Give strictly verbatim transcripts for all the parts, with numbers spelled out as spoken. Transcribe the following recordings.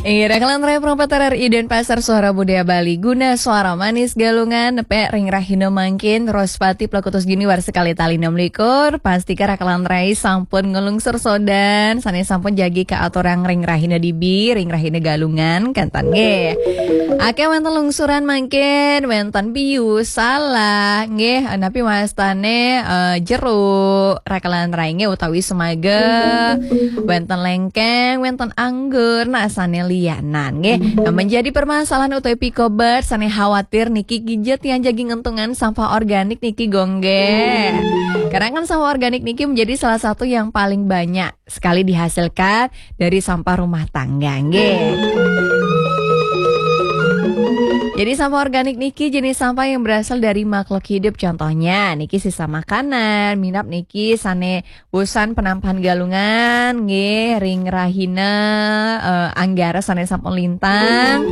Iya, Rakalan Raya Perempat R R I dan Pasar Suara Budaya Bali guna suara manis Galungan, nepe ring rahina mangkin, Rospati Plakutus Junior sekali tali enam likur, pastika Rakalan Raya sampun ngelungsur sodan, sane sampun jagi ka aturang ring rahina dibi, ring rahina Galungan, kantan nggih. Ake wenten lungsuran mangkin, wenten biu, salah, nggih, napi wastane, eh, jeruk, Rakalan Raya nggih utawi semaga, wenten lengkeng, wenten anggur, nah sane lianan nggih. Nah, menjadi permasalahan utawi pikobet sane khawatir niki gija tiang jagi ngentungan sampah organik niki gongge. Karena kan sampah organik niki menjadi salah satu yang paling banyak sekali dihasilkan dari sampah rumah tangga nggih. Jadi sampah organik niki jenis sampah yang berasal dari makhluk hidup, contohnya niki sisa makanan, minap niki sane usan penampahan Galungan nggih, ring rahina, eh, Anggara sane sampun lintang.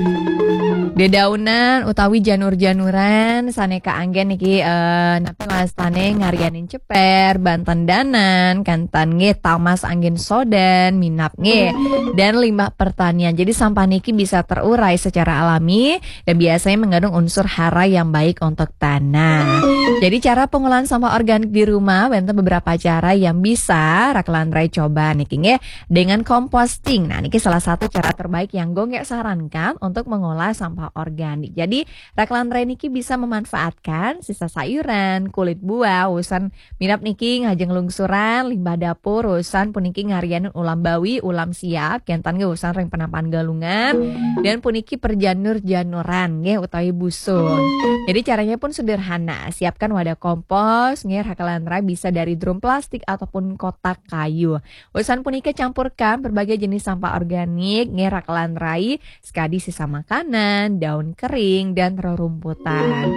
Dedaunan utawi janur-januran sane kaanggen niki, eh, napi wastane ngaryanin ceper, banten danan, kantan nggih, tamas anggen sodan, minap nggih, dan limbah pertanian. Jadi sampah niki bisa terurai secara alami dan biasanya mengandung unsur hara yang baik untuk tanah. Jadi cara pengolahan sampah organik di rumah, wenten beberapa cara yang bisa Rakalan Raya coba niki nggih, dengan composting. Nah, niki salah satu cara terbaik yang gongge sarankan untuk mengolah sampah organik. Jadi Rakalan Raya niki bisa memanfaatkan sisa sayuran, kulit buah, usan minap niki ngajeng lungsuran, limbah dapur, usan puniki ngaryanin ulam bawi, ulam siap, kantan nggih usan ring penampahan Galungan, dan puniki perjanur-januran nggih utawi busung. Jadi caranya pun sederhana, siapkan wadah kompos nggih, Rakalan Raya bisa dari drum plastik ataupun kotak kayu. Usan punika campurkan berbagai jenis sampah organik nggih, Rakalan Raya, sekadi sisa makanan, daun kering, dan rerumputan.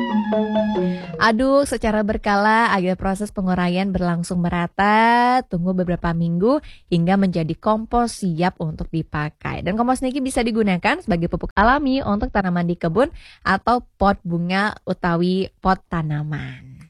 Aduk secara berkala agar proses penguraian berlangsung merata, tunggu beberapa minggu hingga menjadi kompos siap untuk dipakai. Dan kompos niki bisa digunakan sebagai pupuk alami untuk tanaman di kebun atau pot bunga utawi pot tanaman.